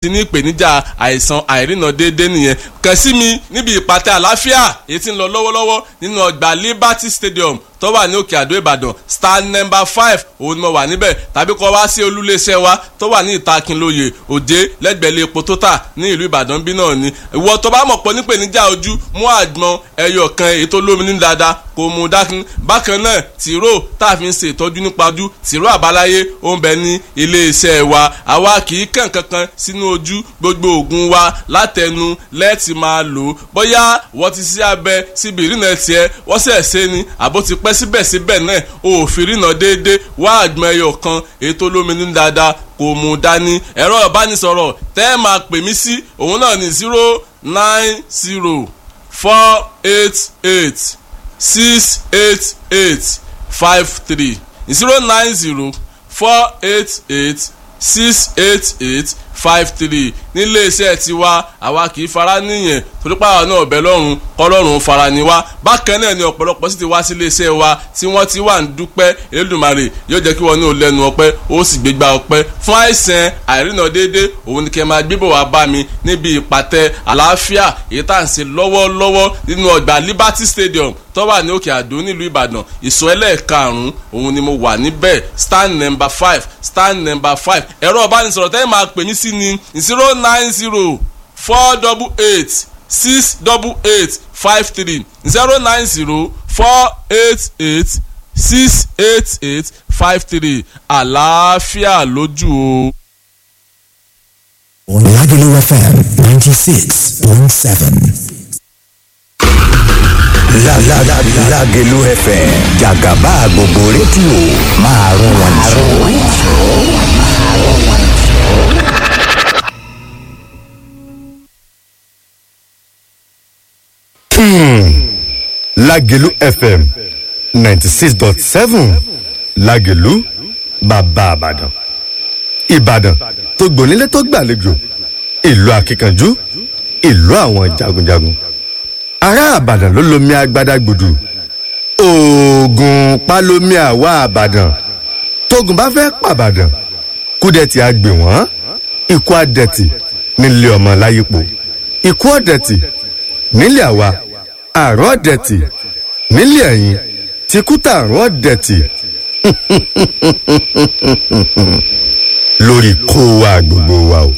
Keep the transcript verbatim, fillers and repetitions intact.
Ti ní ìpèníjà àìsàn àìrìnà déédéé nìyẹn. Kàn sí mi níbi ìpàtẹ àlàáfíà èyí tí ń lọ lọ́wọ́lọ́wọ́ nínú ọgbà Liberty Stadium tó wà ní Òkè Àdó, Ìbàdàn, star number five, òun ni mo wà níbẹ̀, tàbí kọ́ wá sí olúléeṣẹ́ wa tó wà ní Ìtakínlóye Òde, lẹ́gbẹ̀ẹ́lẹ́ epo tó tà ní ìlú Ìbàdàn bí náà ni. Ìwọ tó bá mọ̀ pọ̀ nípèníjà ojú, mú àgbọn ẹyọ kan èyí tó lómi ní dáadáa kò mú dákun. Bákan náà, tìró tá a fi ń ṣe ìtọ́jú nípa ojú, tìró àbáláyé, ó ń bẹ ní iléeṣẹ́ wa. Àwa kì í kàn kankan sínú ojú. Gbogbo òògùn wa látẹnu lẹ́ẹ̀tì máa lò ó. Bóyá wọ́n ti sí abẹ síbi ìrìnà tiẹ̀, wọ́n sẹ̀ ṣe ni àbó ti pẹ́, síbẹ̀síbẹ̀ náà òfin ìrìnà déédéé, wá àgbọn ẹyọ kan èyí tó lómi ní dáadáa kò mú dání. Ẹ̀rọ ìbánisọ̀rọ̀ tẹ́ ẹ máa pè mí sí, òun náà ní zero nine zero four eight eight six eight eight five three, zero nine zero four eight eight six eight eight five three. Nílé iṣẹ́ tiwa, àwa kì í fara níyẹn, torí pàwọn náà ọ̀bẹ lọ́rùn kọ́lọ́run fara ni wá. Bákan náà ni ọ̀pọ̀lọpọ̀ sì ti wá sí ilé iṣẹ́ wa tí wọ́n ti wà ń dúpẹ́. Elédùmarè yóò jẹ́ kí wọ́n ní ò lẹ́nu ọpẹ́, ó sì gbégbá ọpẹ́ fún àìsàn àìrìnà déédé. Òun ni kẹ́ máa gbébọ̀ wá bá mi níbi ìpàtẹ àlàáfíà èyí tá à ń ṣe lọ́wọ́lọ́wọ́ nínú ọgbà Liberty Stadium tó wà ní Òkè Àdó nílùú Ìbàdàn. Ìsọ̀ ẹlẹ́ẹ̀karùn-ún, òun ni mo wà níbẹ̀, stand number five, stand number five. Ẹ̀rọ ìbánisọ̀rọ̀ tẹ́lẹ̀ máa pè mí sí ni zero nine zero four double eight six double eight five three, zero nine zero four eight eight six eight eight five three. Àlàáfíà lójú o. Lagelu F M ninety six point seven. Lágẹ̀lú F M, jàgàbá gbogbo rédíò, máa rún wọn jù. Lágẹ̀lú F M ninety six dot seven, Lágẹ̀lú bàbá Àbàdàn, Ìbàdàn tó gbònílé tó gbàlejò, ìlú akíkanjú, ìlú àwọn jagunjagun. Ará Àbàdàn ló lomi agbada gbòdù, oògùn palomi. Àwa Àbàdàn, tógun bá fẹ́ pàbàdàn, kúdẹ̀tì àgbè wọ́n, ikú àdẹ̀tì nílé ọmọ láyípo, ikú ọ̀dẹ̀tì nílé àwa, àrùn ọ̀dẹ̀tì nílé ẹ̀yìn, tìkútà àrùn ọ̀dẹ̀tì lórí kó wa gbogbo wa o.